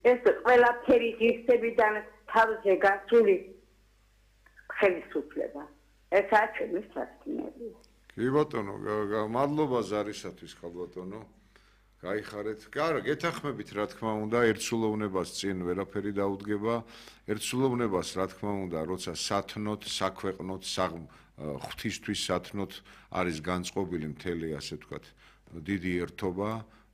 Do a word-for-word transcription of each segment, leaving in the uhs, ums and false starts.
ეს ყველაფერი ღირსებიდან თავზე გასული ხელისუფლება. ესაა ჩემი სასტინელი. კი ბატონო, მადლობა ზარისათვის ხალბატონო. გაიხარეთ. კარა, გეთანხმებით რა თქმა უნდა, ერთსულოვნებას წინ ვერაფერი დაუდგება. ერთსულოვნებას რა თქმა უნდა, როცა სათნოთ, საქვეყნოთ, ღვთისთვის სათნოთ არის განწყობილი მთელი, ასე ვთქვათ, დიდი ერთობა,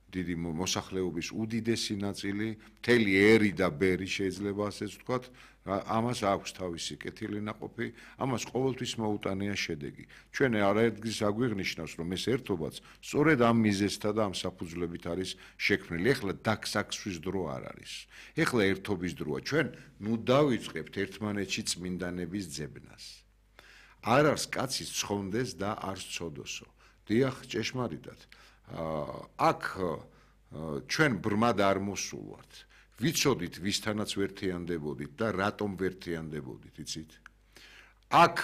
დიდი მოსახლეობის უდიდესი ნაწილი, მთელი ერი და ბერი შეიძლება ასეც ვთქვათ, ამას აქვს თავისი კეთილი ნაყოფი, ამას ყოველთვის მოუტანია შედეგი. ჩვენ არაერთგზის აგვიღნიშნავს, რომ ეს ერთობაც სწორედ ამ მიზეზთა და ამ საფუძვლებით არის შექმნილი. ეხლა დაგსაქსვის დრო არ არის. ეხლა ერთობის დროა. ჩვენ ნუ დავიწყებთ ერთმანეთში წმინდანების ძებნას. არ არის კაცის ცხონდეს და არ სცოდოსო. დიახ, ჭეშმარიტად. აქ ჩვენ ბრმად არ მოსულვართ. ვიცოდით ვისთანაც ვერთიანდებოდით და რატომ ვერთიანდებოდით, იცით? აქ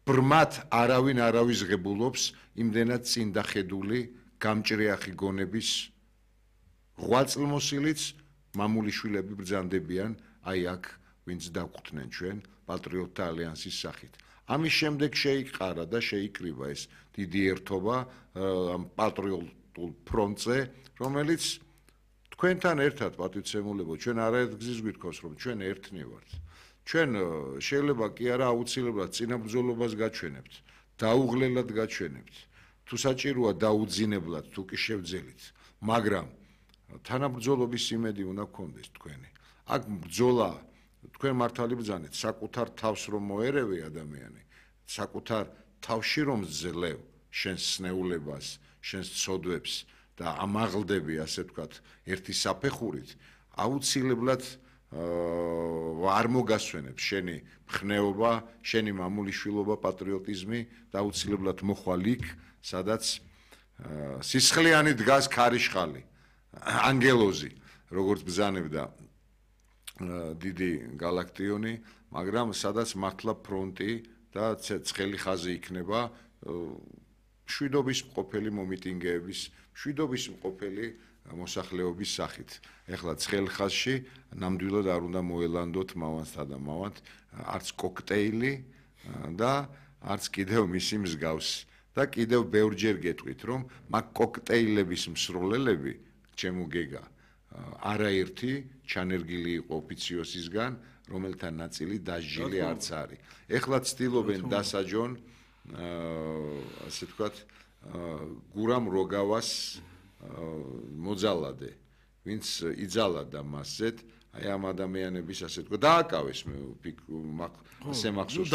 ბრმად არავინ არავის ღებულობს იმდენად წინ დახედული გამჭრიახი გონების ღვაწლმოსილიც მამულიშვილები ბრძანდებიან აი აქ ვინც დაგვხვდნენ ჩვენ პატრიოტთა ალიანსის სახით. ამის შემდეგ შეიყარა და შეიკრიბა ეს დიდი ერთობა ამ პატრიოტულ ფრონტზე, რომელიც თქვენთან ერთად პატივცემულებო, ჩვენ არაერთგზის გვითხოვს, რომ ჩვენ ერთნი ვართ. ჩვენ შეიძლება კი არა აუცილებლად წინაბრძოლობას გაჩვენებთ, დაუღლელად გაჩვენებთ, თუ საჭიროა დაუძინებლად, თუ კი შევძელით, მაგრამ თანაბრძოლობის იმედი უნდა გქონდეს თქვენი. აქ ბრძოლა თქვენ მართალი ბრძანეთ, საკუთარ თავს რომ მოერევი ადამიანი, საკუთარ თავში რომ ძლევ შენს სნეულებას, შენს ცოდვებს და ამაღლდები, ასე ვთქვათ, ერთი საფეხურით, აუცილებლად არ მოგასვენებს შენი მხნეობა, შენი მამულიშვილობა, პატრიოტიზმი და აუცილებლად მოხვალ იქ, სადაც სისხლიანი დგას ქარიშხალი, ანგელოზი, როგორც ბრძანებდა დიდი გალაქტიონი, მაგრამ სადაც მართლა ფრონტი და ცხელი ხაზი იქნება მშვიდობის მყოფელი მომიტინგეების, მშვიდობის მყოფელი მოსახლეობის სახით. ეხლა ცხელ ხაზში ნამდვილად არ უნდა მოელანდოთ მავანსა და მავანთ არც კოქტეილი და არც კიდევ მისი მსგავსი. და კიდევ ბევრჯერ გეტყვით, რომ მაგ კოქტეილების მსროლელები, ჩემო გეგა, არაერთი ჩანერგილი იყო ოფიციოსისგან, რომელთა ნაწილი დასჯილი არც არის. ეხლა ცდილობენ დასაჯონ, ასე ვთქვათ, გურამ როგორას მოძალადე, ვინც იძალადა მასზედ, აი ამ ადამიანების ასე ვთქვათ, დააკავეს, ასე მახსოვს.